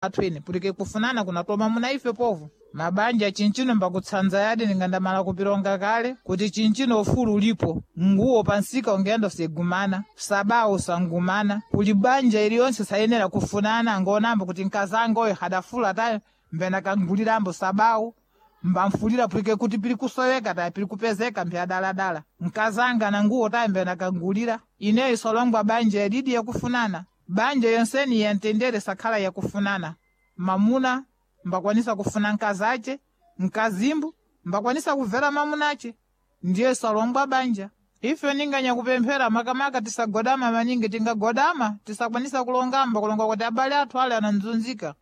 Athu pulike kufunana kunatoma muna ife povo mabanja chinchino mbakutsanza yadi ningandamala kupilonga kale kuti chinchino ufulu ulipo nguwo pansika ungenda usegumana sabawo sangumana kuli banja iliyonse sayenera kufunana ngonambo kuti nkazanga oyo hadafula tayo mbena kangulirambo sabawo mbamfulira pulike kuti pili kusoweka tayi pili kupezeka mpya nkazanga na nguwo tayi mbena kangulira ineyo isolongwa banja yadidi yakufunana banja yonseni yantendere sakhala yakufunana mamuna mbakwanisa kufuna nkazace nkazimbu mbakwanisa kubvera mamunace ndiye salongwa banja ife ninganyakupemphera makamaka tisagodama maningi tingagodama tisakwanisa kulongamba kulonga kuti abale athu ale ananzunzika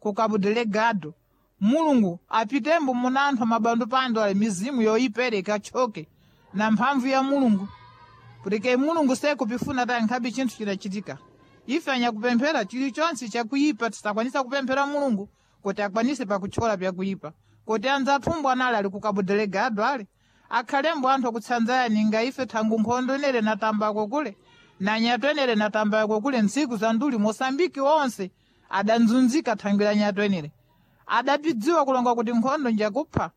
kukabudelegado mulungu apitembo muna anthu mabandu pando ale mizimu yoyipereka choke na mphamvu ya mulungu pulike mulungu sekupifuna tayi nkhabe chinthu chinachitika ife anyakupemphera chilichonse chakuyipa tisakwanisa kupemphera mulungu kuti akwanise pakuthyola pyakuyipa kuti anzathu anali ali kukabudelegado ale akhalembo anthu akutsanzaya ninga ife thangu nkhondo inere natambako kule na nyato enere natambako kule ntsiku za nduli mosambiki wonse adanzunzika thangwi la nyato enere adapidziwa kulonga kuti nkhondo njakupha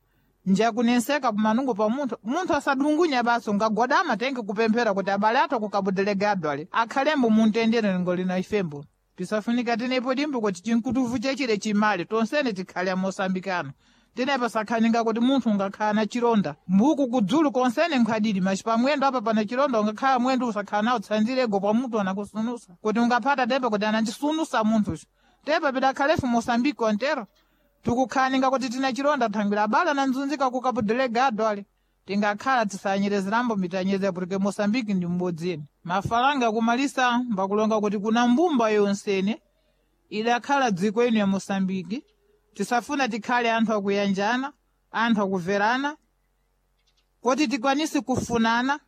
njakunenseka pamanungo pa munthu munthu asadungunya basi ungagodama tenge kupemphera kuti abale athu akukabudelegado ale akhalembo muntendere lingo lina ifembo pisafunika tenepo dimbo kuti chinkutuvu chechile chimale tonsene tikhale amosambikano tenepo sakhaninga kuti munthu ungakhala na chilonda mbuku kudzulu konsene nkhwadidi machi pamwendo apa pana chilonda ungakhala mwendo usakhala nawo tsanzirego pa munthu anakusunusa kuti ungaphata tepa kuti anandisunusa munthucho tepa pidakhalefu mosambiki ontero tikukhaninga kuti tina chilonda thangwira abale ananzunzika kukabudelegado ale tingakhala tisanyerezerambo mitanyeze porque mosambiki ndi mbodzini mafalanga kumalisa mbakulonga kuti kuna mbumba yonsene idakhala dziko ino ya mosambiki tisafuna tikhale anthu akuyanjana anthu akuverana kuti tikwanise kufunana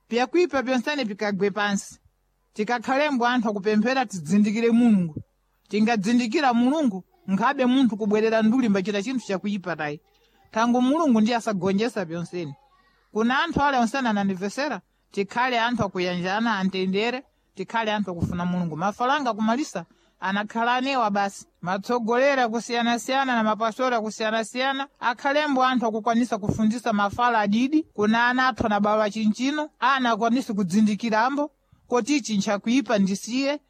pyakuipa pyonsene pikagwe pansi tikakhalembo anthu akupemphera tidzindikire mulungu tingadzindikira mulungu nkhabe munthu kubwerera nduli mbachita chinthu chakuipa tayi thangu mulungu ndiye asagonjesa pyonsene kuna anthu ale onsene anandimvesera tikhale anthu akuyanjana antendere tikhale anthu akufuna mulungu mafalanga kumalisa anakhala anewa basi matsogolera kusiyanasiyana na mapastora kusiyanasiyana akhalembo anthu akukwanisa kufundisa mafala adidi kuna ana athu anabawa chinchino ana akwanise kudzindikirambo kuti ichi nchakuipa ndisiye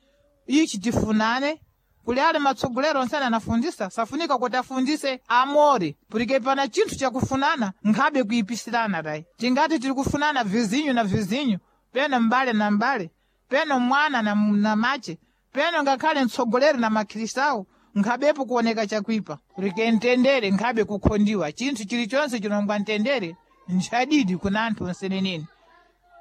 ichi tifunane kuli ale matsogolero onsene anafundisa safunika kuti afundise amore pulike pana chinthu chakufunana nkhabe kuyipisirana tayi tingati tili kufunana vizinyu na vizinyu peno mbale na mbale peno mwana na mache peno ngakhale mtsogoleri na makhristawo nkhabepo kuoneka chakuipa pulike mtendere nkhabe kukhondiwa chinthu chilichonse chinongwa mtendere nchadidi kuna anthu onseneneni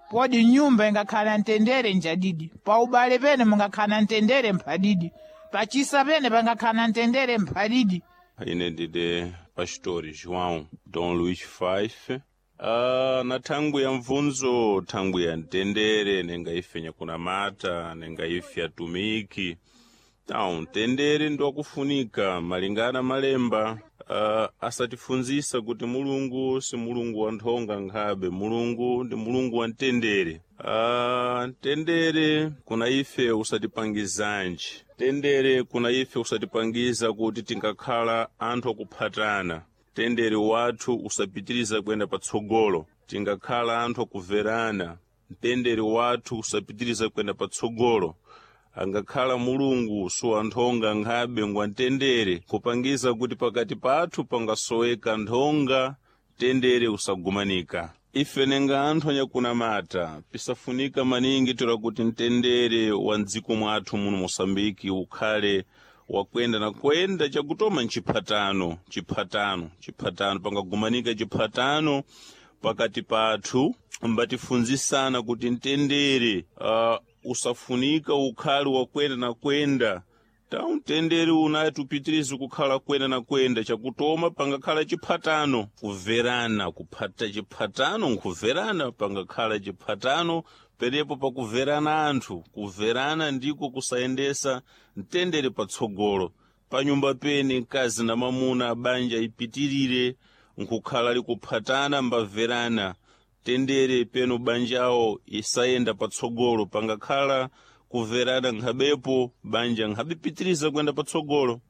podi nyumba ingakhala mtendere njadidi paubale pene mungakhala mtendere mphadidi pachisa pene pangakhala mtendere mphadidi ine ndine pastori joão dom luís fife na thangwi ya mvunzo thangwi ya mtendere nenga ife nyakunamata nenga ife atumiki tawu mtendere ndi wakufunika malingana malemba asatifunzisa kuti mulungu si mulungu wa nthonga nkhabe mulungu ndi mulungu wa mtendere mtendere kuna ife usatipangizanji mtendere kuna ife usatipangiza kuti tingakhala anthu akuphatana mtendere wathu usapitiriza kuyenda patsogolo tingakhala anthu akuverana mtendere wathu usapitiriza kuyenda patsogolo angakhala mulungu suwanthonga nkhabe ngwamtendere kupangiza kuti pakati pathu pangasoweka nthonga mtendere usagumanika ife nenga anthu anyakunamata pisafunika maningi tola kuti mtendere wa mdziko mwathu muno mosambiki ukhale wakwenda na kwenda chakutoma nchiphatano chiphatano chiphatano pangagumanika chiphatano pakati pathu mbatifunzisana kuti mtendere usafunika ukhale wakwenda na kwenda tawu mtendere unati upitirize kukhala kwenda na kwenda chakutoma pangakhala chiphatano kuverana kuphata chiphatano nkuverana pangakhala chiphatano perepo pakuverana anthu kuverana ndiko kusayendesa mtendere patsogolo panyumba pene mkazi na mamuna banja ipitirire nkukhala likuphatana mbaverana tendere peno banjawo isayenda patsogolo pangakhala kuverana nkhabepo banja nkhabipitiriza kuyenda patsogolo.